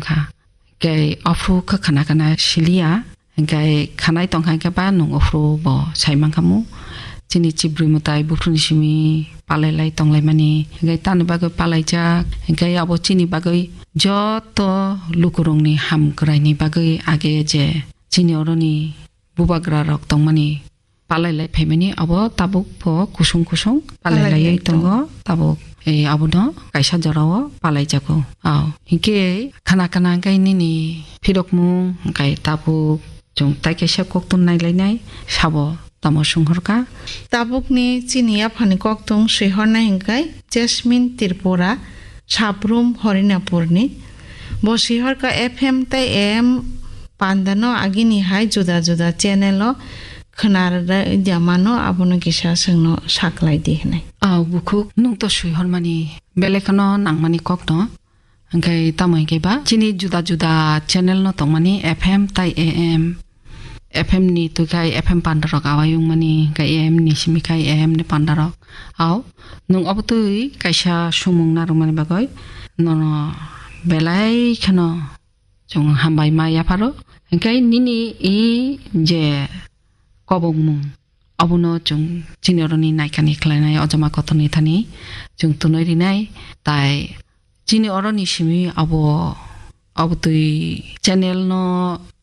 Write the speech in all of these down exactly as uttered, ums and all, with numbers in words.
kha. Hingke aphuru khe khana khana siliya, hingke khanai tongkha hingke ba nwng aphuru bo sai mankhamu. Chini chibrwi mwtai buphuruni simi palailai tonglaimani, hingke tani bagwi palaijak, hingke abo chini bagwi joto lukurokni hamkraini bagwi age je chini oroni bubagra rok tongmani palailai phaimani abo tabuk pho kusung kusung palailaiwi tongo tabuk, eh, abono kaisa jorao palaijago. Ao, hinkhe khana khana hinkhe nini phirokmung hinkhe tabuk chwng tai kaisa koktun nailainai sabo tamo swnghorkha. Tabukni chini yaphani koktun swihornai hinkhe Jasmine Tripura, Sabrum Horinapurni. Bo swihorkha F M tei A M pandano agini hai juda juda channel o khwnarwkya mano, abono kisa chwngno saklai di hwnwi. A bukhuk, nwng to swihormani belai kheno nangmani kokno, hwnkhe tamo hinkhe ba chini juda juda channel no tongmani F M tai A M, F M ni twi khai F M panda rok awai wngmani, hwnkhe A M ni simi khai A M ni panda rok. Ao, nwng obo twi kaisa sumung narwkmani bagwi nono belai kheno chwng hambai ma yapharo. Hwnkhe nini i je kobokmung, abono chwng chini oroni naikani khlainai, o jama kotorni thani chwng tunui rinai. Tai chini oroni simi abo, abo twi channel no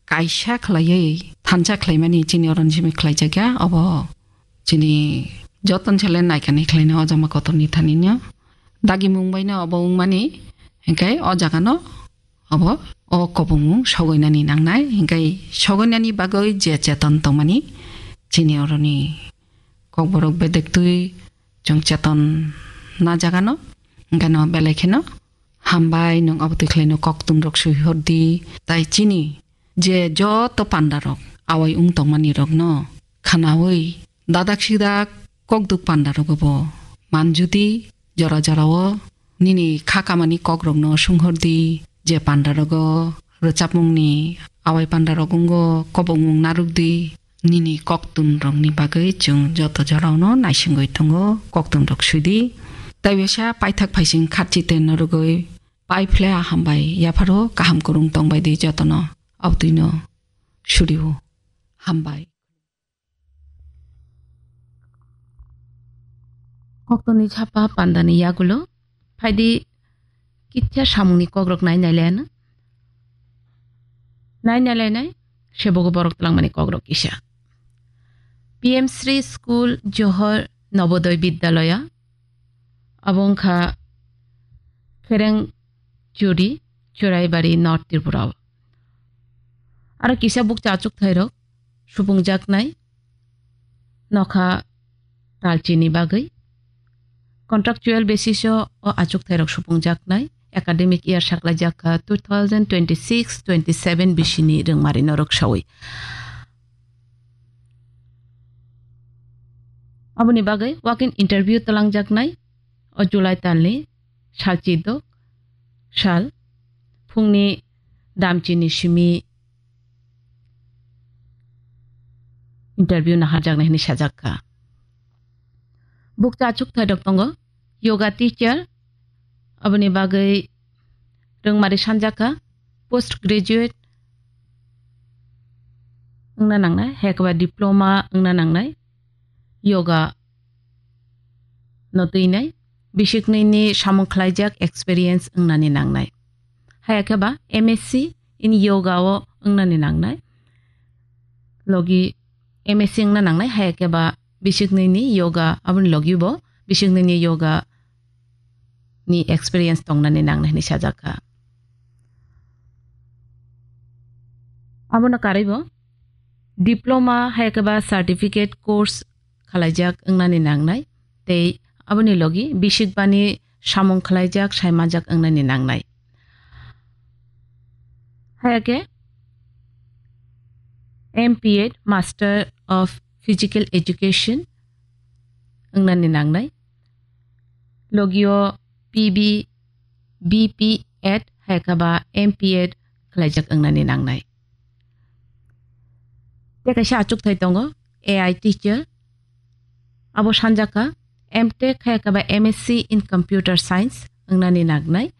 kaisa khlaiwi thansa khlaimani chini oroni simi khlaijakya. Obo chini joton sele naikani khlainai o jama kotorni thanino dagimung baino obo wngmani, hwnkhe o jagano obo o kobongmung sogoinani nangnai, hwnkhe sogoinani bagwi je cheton tongmani chini oroni kokborok bedektwi chwng cheton na jagano, hwnkhe no belai kheno hambai nwng obo twi khlaino koktunrok swihordi, tai chini je joto pandarok awai wng tongmani rokno khwnaui dadak sidak kokduk pandarogo bo manjudi, jora jorao nini kha kamani kokrokno sunghordi, je pandarogo rwchapmungni awai pandarok wngo kobongmung narwkdi, nini koktunrokni bagwi chwng joto jorao no naisingwi tongo, koktunrok swidi. Tai bisa paithak phaising khatchi te norwgwi pai phle a hambai yapharo kaham kwrwng tongbai di jotono, abtwino surio hambai. Koktwni sapa pandani yagulo phaidi kitsa samungni kokrok nai nai laiano. Nai nai lainai sebogo borok twlangmani kokrok kisa. P M Shri School Johor Nobodoy Bidyalaya, abo wngkha Khereng Churi, Churaibari, North Tripura o. Aro kisa bukcha achuk thairok supungjaknai nokha talchini bagwi. Contractual basis o, o achuk thairok supungjaknai academic year saklaijak kha two thousand twenty-six twenty-seven bisini rwngmari norok sawi. Aboni bagwi walk-in interview twlangjaknai o July talni salchidok sal phungni damchini simi interview naharjaknai hwnwi sajak kha. Bukcha achuk thairok tongo yoga teacher, aboni bagwi rwngmari sanjak kha post graduate wngna nangnai, hai khe ba diploma wngna nangnai yoga no twinai, bisiknwini samung khlaijak experience wngnani nangnai. Hai khe ba M S C in yoga o wngnani nangnai. Logi M S C wngna nangnai, hai khe ba bisiknwini yoga, aboni logi bo bisiknwini yoga ni experience tongnani nangnai hwnwi sajak kha. Abono karwi bo diploma hai khe ba certificate course khalaijak wngnani nangnai, tei aboni logi bisikbani samung khalaijak, saimanjak wngnani nangnai. Hai khe M P Ed, Master of Physical Education wngnani nangnai. Logio P B, B P Ed hai khe ba M P Ed khlaijak wngnani nangnai. Tei kaisa achukthai tongo, A I teacher. Abo sanjak kha M Tech hai khe ba M S C in Computer Science wngnani nangnai.